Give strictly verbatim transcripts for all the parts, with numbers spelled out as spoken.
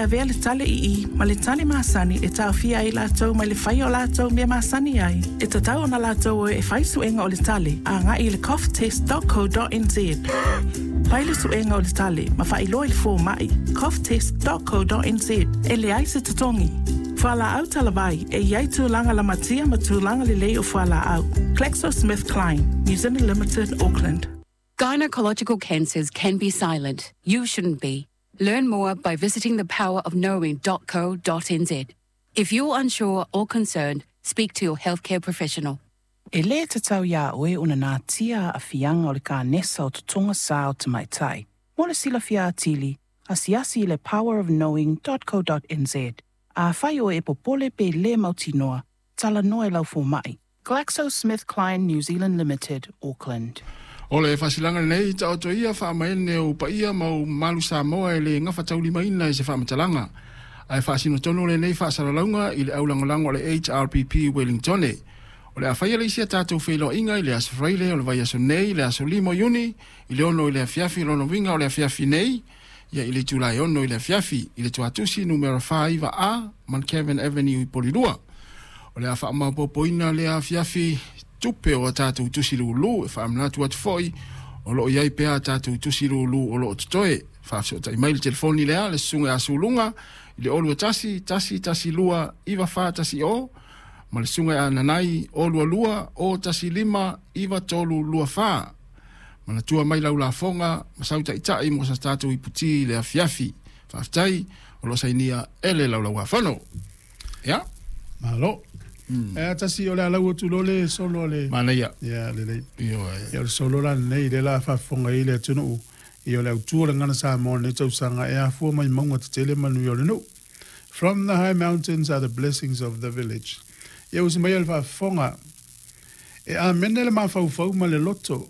avea le tale i i ma le tale masani e taofia ai latou mai le faia o latou mea masani ai. E tatau ona latou o e fai suega o le tale agai i le cough test dot co dot n z. Fai le suega o le tale ma faailoa i le fomai cough test dot co dot n z e leai se totogi. Fualaau talavai e iai tulaga lamatia ma tulaga lelei o fualaau. GlaxoSmithKline, New Zealand Limited, Auckland. Gynecological cancers can be silent. You shouldn't be. Learn more by visiting the power of knowing dot co dot n z. If you're unsure or concerned, speak to your healthcare professional. E lē tatau iā oe ona natia aafiaga o le kanesa o totoga sa o tamaitai. Mo le silafia atili, asiasi i le power of knowing dot co dot n z. Afai oe e popole pe lē mautinoa, talanoa i lau fomai. GlaxoSmithKline New Zealand Limited, Auckland. O le faasilaga lenei taoto ia faamaene o paia ma o mamalu Samoa e le gafataulimaina i se faamatalaga. Ae faasino tonu lenei faasalalauga i le aulagolago a le H R P P Wellingtone. O le a faia le isi a tatou feiloaiga i le aso Faraile o le vaiaso nei, le aso lima o Iuni, i le ono i le afiafi, lona uiga o le afiafi nei, ia i le itula e ono i le afiafi, i le tuatusi numera fa iva A, Mount Kevin Avenue i Polilua. O le a faamaopoopoina lea afiafi tupe o a tatou tusi lulu, e faamanatu atu foi, o loo iai pea a tatou tusi lulu o loo totoe. Faafesootai mai le telefoni lea, le susuga ia Suluga, i le olu e tasi, tasi, tasi lua, iva fa tasi o, ma le susuga ia Nanai, o lua lua, o tasi lima, iva tolu lua fa. Manatua mai lau lafoga, ma sau taitai mo sa tatou iputi i le afiafi. Faafetai, o loo sainia e le Laulau-a-Fono. Ia? Malo. Mm. E tasi o le alau atu lo le solo le Manaia. Ia lelei. Io e. Ia o le solo la nei le la faafofoga i le atunuu. Ia o le autu o le gagana Samoa nei tausaga e afua mai mauga tetele manuia o le nuu. From the high mountains are the blessings of the village. Ia usi mai le faafofoga. E amene le mafaufau ma le loto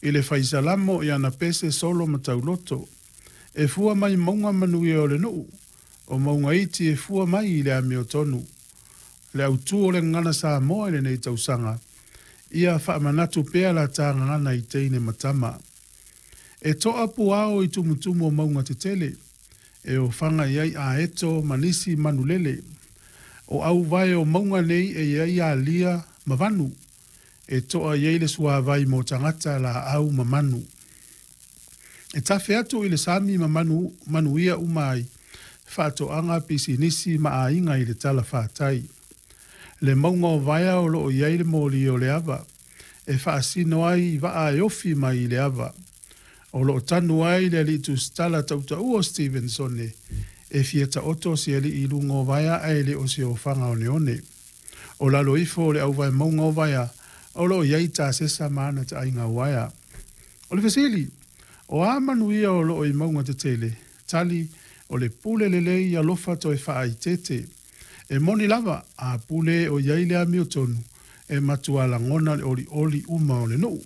i le faisalamo i ana pese solo ma tauloto. E fua mai mauga manuia o le nuu. O mauga iti e fua mai i le amiotonu. Le autu o le gagana Samoa i lenei tausaga. Ia faamanatu pea la tā gagana i teine ma tama. E toa puao i tumutumu o mauga tetele. E ofaga i ai aeto ma nisi manulele. O auvae o mauga nei e iai alia ma vanu. E toa i ai le suavai mo tagata laau ma manu. E tafe atu i le sami ma manu, manuia uma ai. Faatoaga pisinisi ma aiga i le talafatai. Le mauga o Vaea o loo i ai le moli o le ava. E faasino ai i vaa e ofi mai i le ava. O loo tanu ai le alii tusitala tautaua o Stevensone. E fia taoto se alii i luga o Vaea ae le o se ofaga oneone. O lalo ifo o le auvae mauga o Vaea, o loo i ai tasesa ma ana taaiga uaea. O le fesili, o a manuia o loo i mauga tetele, tali o le pule lelei alofa toe faaitete. E moni lava, a pule o iai le amiotonu, e matua lagona le olioli uma o le nuu.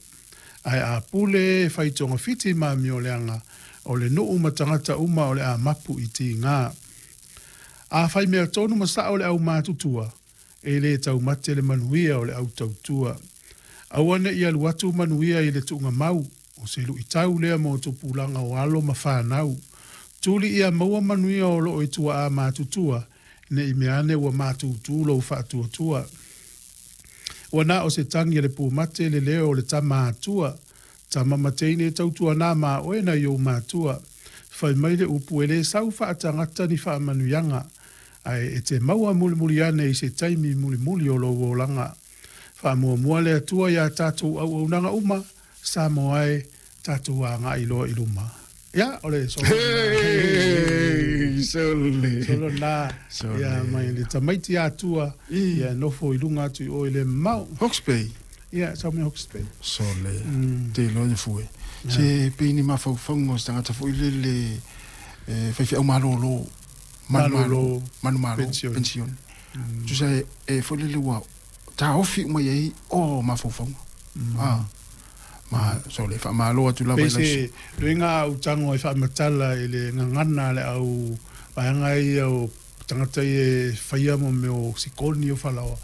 Ae a pule e fai togafiti ma amioleaga, o le nuu ma tagata uma o le a mapu i tiga. A fai mea tonu ma sao le au matutua, e le taumate le manuia o le au tautua. Aua ne i alu atu manuia i le tuugamau, o se luitau lea mo tupulaga o alo ma fanau. Tuli ia maua manuia o loo i tuaa matutua, ne i mea ane ua matutu lou faatuatua. Ua na o se tagi a le pumate le leo o le tama atua. Tama ma teine tautua nā ma oe nai ou matua. Fai mai le upu e le sau faatagata ni faamanuiaga. Ae e te maua mulimuli ane i se taimi mulimuli o lou olaga. Faamuamua le Atua iā tatou auaunaga uma, Samoa e, tatou agai loa i luma. Ia, o le solo Hey, sole. Solo na. Sole. Ia, mai le tamaiti atua. Ia, nofo i luga atu i o i le mamao. Hawke's Bay. Ia, sau mai Hawke's Bay. Sole. Te loa fue. Se pei ni mafaufauga o se tagata foi lele e faifeau malōlō. Malōlō. Manumalo. Pension. Pension. Tusa e, e foi lele ua taofi uma i ai o mafaufauga. Ah. Ma sole faamalo atu lava Pei i lau se luiga au tago e faamatala i le gagana le au vaega ia o tagata ia e faia mo mea o sikoni o falaoa.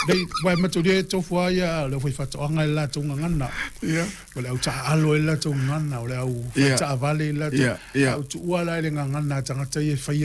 Nei, uae matulia e tofu lava ia le aufaifaatoaga i le latou gagana. Ia. O le au taaalo i le latou gagana, o le au Ia. faitaavale i le latou. Ia, ia. Au tuua la i le gagana a tagata ia e faia